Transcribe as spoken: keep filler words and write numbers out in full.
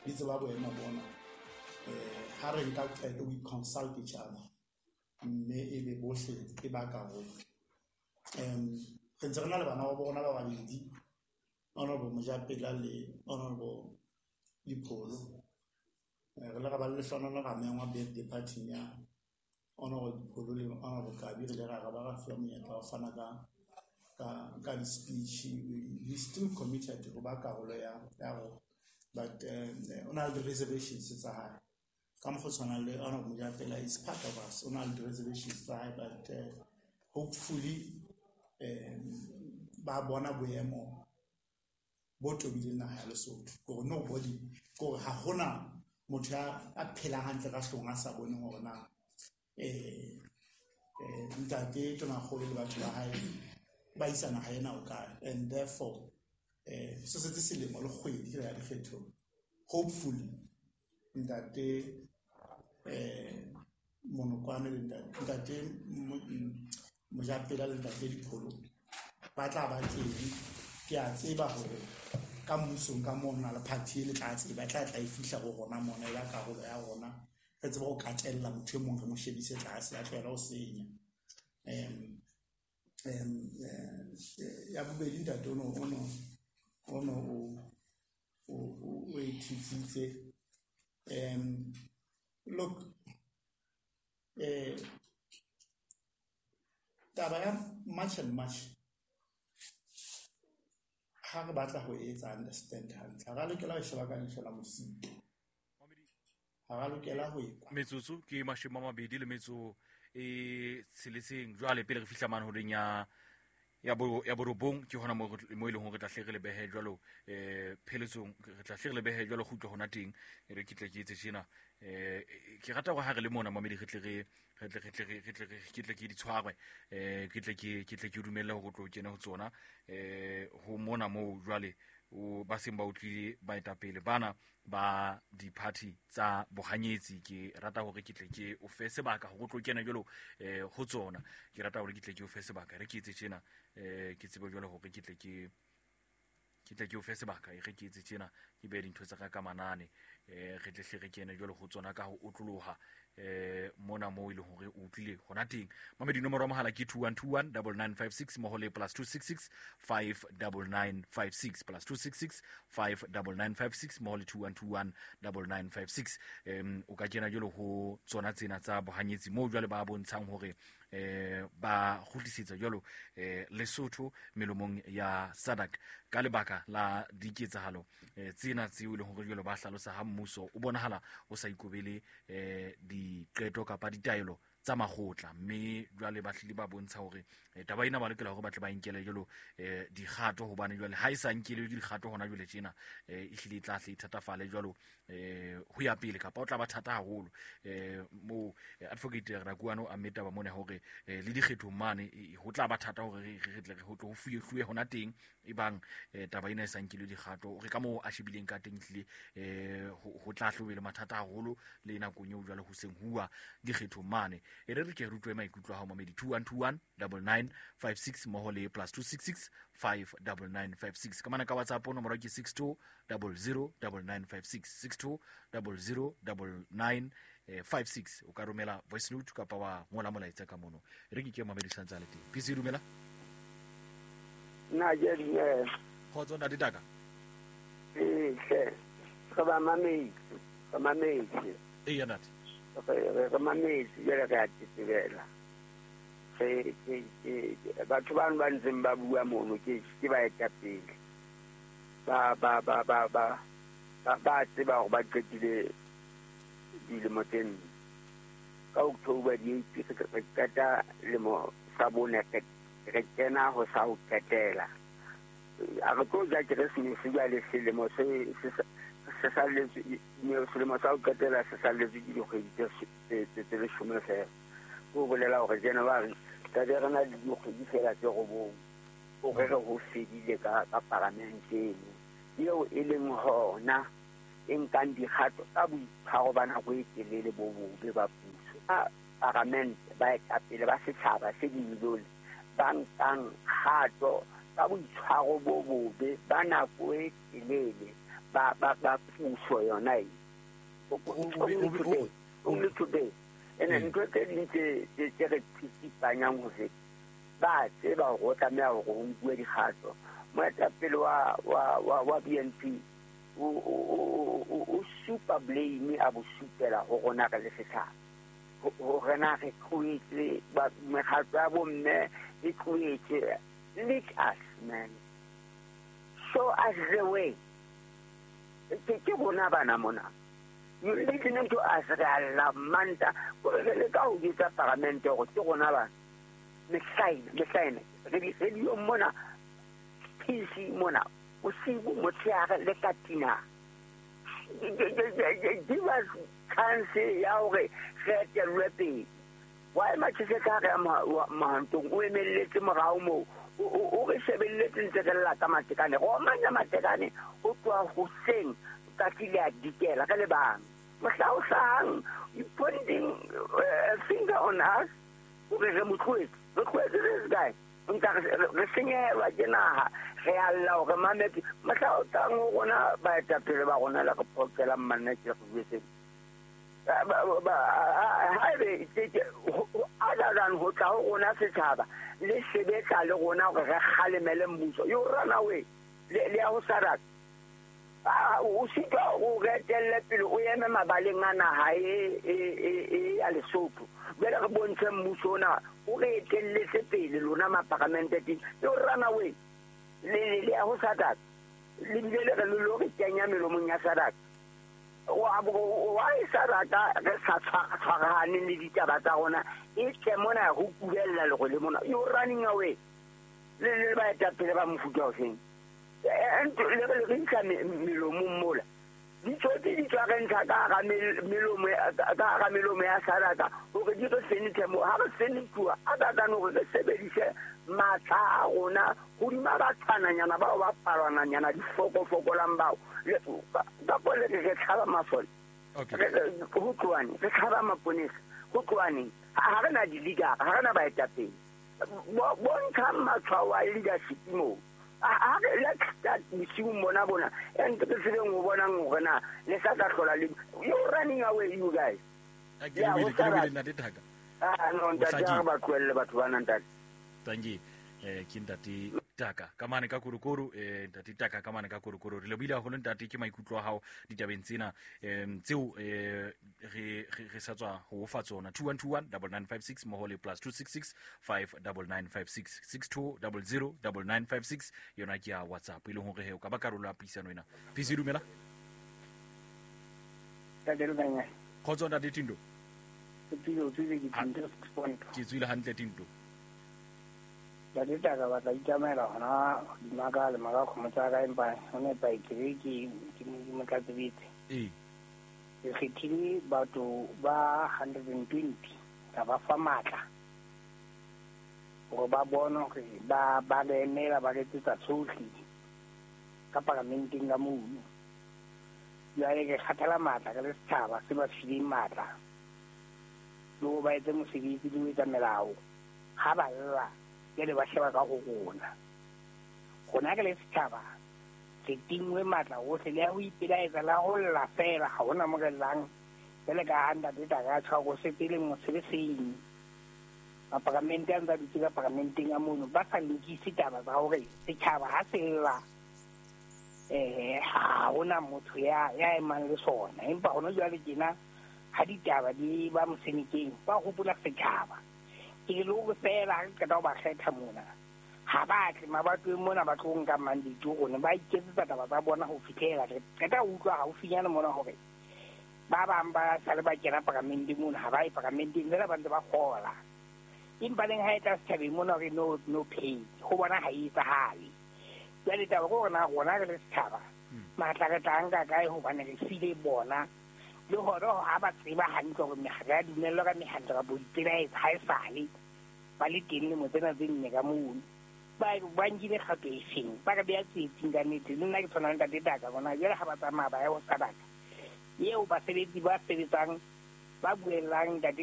Di tseba boemo bona. Eh ha re nka qeto, we consult each other, mme e be bohle e ba karolo. um re ntse re na le bana ba bona ba babedi, Honorable Mojapela le Honorable Lipholo. Re le ra ba le lehlohonolo, ra mengwa birthday party ya Honorable Lipholo le Honorable Kabi. Re ile ra ba ra fuwa monyetla wa ho fana ka ka ka di-speech. We still committed ho ba karolo ya ya rona, but o na le di-reservations tsa hae ka mokgwa o tshwanang le Honorable Mojapela is part of us, o na le di-reservations tsa hae, but hopefully um ba bona boemo bo tobileng naha ya Lesotho, kore nobody, kore ha hona motho ya a phelang hantle ka hloohong a sa boneng hore na eh ntate Tonakgolo le batho ba hae ba isa naha ena ho kae. And therefore eh se setse selemo le kgwedi re ya dikgethong. Hopefully ntate eh Monokwane le ntate Mojapela le ntate Lipholo ba tla ba teng. Ke a tseba hore ka mmusong ka moo na le party e le tla tseba, e tla tla e fihla ho rona mona, ya karolo ya rona, re tsebe ho katella motho e mong, re mo shebise tlase, a tlohela ho senya. um um ya bobedi, ntate ono ono ono o o e thitsitse. um look eh taba ya March and March, ha re batla ho etsa understand hantle, ha ra lokela ho sheba ka leihlo la mosito, ha ra lokela ho ekwa. Metsotso ke mashome a mabedi le metso e tsheletseng jwale pele re fihla mane horeng ya ya bo ya borobong, ke hona mo mo e leng hore re tla hle re le behe jwalo eh pheletsong, re tla hle re le behe jwalo kgutlo hona teng. E re ke tle ke etse tjena, eh ke rata hore ha re le mona mamedi, re tle re re tle re tle re tle ke tle ke di tshwarwe, eh ke tle ke ke tle ke dumelle hore o tlo kene ho tsona eh ho mona moo jwale o ba seng ba utlwile baetapele bana ba di-party tsa bohanyetsi. Ke rata hore ke tle ke o fe sebaka hore o tlo kena jwalo eh ho tsona. Ke rata hore ke tle ke o fe sebaka, re ke etse tjena, eh ke tsebe jwalo hore ke tle ke ke tle ke o fe sebaka, e re ke etse tjena, ke behe dintho tsa ka ka manane, eh re tle hle re kene jwalo ho tsona ka ho otloloha eh mona moo e leng hore o utlwile hona teng. Mamedi, nomoro ya mohala ke two one two one double nine five six mmoho le plus two six six five double nine five six, plus two six six five double nine five six mmoho le two one two one double nine five six. um o ka kena jwalo ho tsona tsena tsa bohanyetsi moo jwale ba bontshang hore eh ba kgutlisetsa jwalo eh Lesotho melomong ya SADC ka lebaka la diketsahalo eh tsena tseo e leng hore jwalo ba hlalosa ha mmuso o bonahala o sa ikobele eh diqeto kapa ditaelo tsa makgotla, mme jwale ba hlile ba bontsha hore taba ena ba lokela hore ba tle ba inkele jwalo eh dikgato, hobane jwale ha e sa nkelwe dikgato hona jwale tjena eh e hlile e tla hle e thatafale jwalo eh ho ya pele, kapa o tla ba thata haholo. eh mo Advocate Rakuano a meta ba mona hore le dikgethong mane ho tla ba thata hore re re tle re ho tlo ho fuye hona teng e bang taba ena e sa nkelwe dikgato. Re ka moo a shebileng ka teng hlile eh ho tla hlobele mathata haholo le nakong eo jwale ho seng huwa dikgethong mane. E re re ke re utlwe maikutlo a hao mamedi, two one two one double nine five six mmoho le plus two six six five double nine five six. Ka mana ka WhatsApp nomoro ke six two double zero double nine five six, six two double zero double nine five six. O ka romela voice note kapa wa ngola molaetsa ka mono. Re ke ke mamedi santse a le teng. P C dumela. Nna ke dumela. Kgotso ntate Taka. Ee hle, re ba mametse, re mametse. Ee ntate. Re re mametse jwale re a tetebela. Re ke ke batho bano ba ntseng ba bua mono ke ke baetapele. Ba ba ba ba ba ba ba tseba hore ba qetile dilemo tse nne. Ka October di eight re qeta lemo sa bone, re kena ho sa ho qetela. A re tlo ja Keresemese jwale selemo se se se salletswe, selemo sa ho qetela se salletswe ke dikgwedi tse tse leshome fela. Ho bolela hore January tlabe re na le dikgwedi fela tse robong hore re ho fedile ka ka paramente eno eo e leng hona e nkang dikgato tsa boitshwaro ba nako e telele bo bobe ba puso. Paramente baetapele ba setjhaba se dimilione ba nkang kgato ka boitshwaro bo bobe ba nako e telele ba ba ba puso yona e only today ene ntho tse ding tse tse re tsitsipanyang ho feta ba tseba hore o tlameha hore o nkuwe dikgato. Moetapele wa wa wa wa B N P o o supa blame a bo supela ho rona re le setjhaba hore na re tlohetse mekgatlo ya bomme e tlohetse. Lead us, man, show us the way. Ke ke rona bana mona. You listening to us re a la manta re le ka ho etsa paramente hore ke rona bana mehlaena mehlaena re di re di mona P C mona bosibu motshehare le ka tina. Give us chance ya hore re etellwe pele. Wa ema tjhese ka re mahantong o emelletse morao moo o re shebelletse ntse re lla ka matekane go omanya matekane o tloha hoseng tsatsi le a dikela re le bang. Mohla o hlahang you pointing finger on us hore re mo tlohetse re tlohetse this guy nka re senyehelwa ke naha re a lla hore mametse mohla o tlang ho rona baetapele ba rona le re phoqelang manna ke re jwetseng haebe other than ho tla ho rona setjhaba le sebetsa le rona hore re kgalemele mmuso. You run away le ya ho SADC o sitwa o re etelle pele o eme mabaleng a naha e e ya Lesotho jwale re bontshe mmuso ona o re etelletse pele lona maparamente teng. You run away le le ya ho SADC le bile le re lo re kenya melomong ya SADC. Why SADC re sa tshwarahane le ditaba tsa rona e tle mona ho kubella le go le mona. You running away le le baetapele ba mofuta o feng le re re ntsha melomong mola ditsotsi di tswa re ntsha ka hara melomo ka hara melomo ya SADC hore di re fenethe mo ha re fenethuwa other than hore re sebedise matla a rona hodima batshwananyana bao ba palwananyana difokofokolang bao ka pole re tshaba masole ho tloane re tshaba maponesa ho tloaneng ha re na di-leader ha re na baetapele bontshang matshwao a leadership moo. Let's start bosiung bona bona and re tsebeng ho bonang hore na le sa tla hlola le you running away you guys. Ke le ntate Thaka. Ah no ntate ha ba tlohelle batho bana ntate. Tangi eh ke ntate Taka ka mane ka korokoro eh ntate Taka ka mane ka korokoro re lebohile haholo ntate ke maikutlo a hao ditabeng tsena em tseo eh re re sa tswa ho fa tsona two one two one nine nine five six mmoho le plus two six six five nine nine five six six two zero zero nine nine five six yona ke ya WhatsApp e leng hore he o ka ba karolo ya puisano ena. P C dumela. Ntate Lukanya. Khotso ntate Tindo. Ke tswile ke Tindo six point. Ke tswile hantle Tindo. Ntate Taka batla itsamaela hona hodima ka le maka kgomo tsa ka empa ho nepa ke ke ke motlatsebetse. Ee. Ke kgethile batho ba hundred and twenty ka ba fa matla hore ba bone hore ba ba re emela ba re etsetsa tsohle ka paramenteng ka mono. Jwale ke kgathala matla ka le setjhaba se ba fileng matla le ho ba etse mosebetsi le ho etsa melao ha ba lla jwale ba sheba ka ho rona. Rona ke le setjhaba re tingwe matla ohle le ya ho ipelaetsa la ho lla feela ha hona mo re llang jwale ka ha ntate Taka a tjho hore se pele mosebetsing maparamente a ntse a dutse ka paramenteng a mono ba sa lokise taba tsa hore setjhaba ha se lla eh ha hona motho ya ya emang le sona empa hona jwale tjena ha ditaba di ba mosenekeng ba hopola setjhaba ke le hore feela re qeta ho ba kgetha mona ha ba tle mabatoweng mona ba tlo nka mandate rona ba iketsetsa taba tsa bona ho fihlela re qeta ho utlwa haufinyane mona hore ba bang ba sale ba kena paramenteng mona ha ba ye paramenteng fela ba ntse ba kgola empa leng ha e tla setjhabeng mona hore no no pay ho bona ha e etsahale. Jwale taba ke hore na rona re le setjhaba matla re tla nka kae hobane re file bona le hore ha ba tseba hantle hore ha re a dumellwa ka mehanto kapa ho ipelaetsa ha esale ba le teng lemo tsena tse nne ka mono ba ba nkile kgato e feng ba re beha tsietsing ka nnete. Le nna ke tshwana le ntate Taka bona jwale ha ba tsamaya ba ya ho SADC eo basebetsi ba sebetsang ba buellang ntate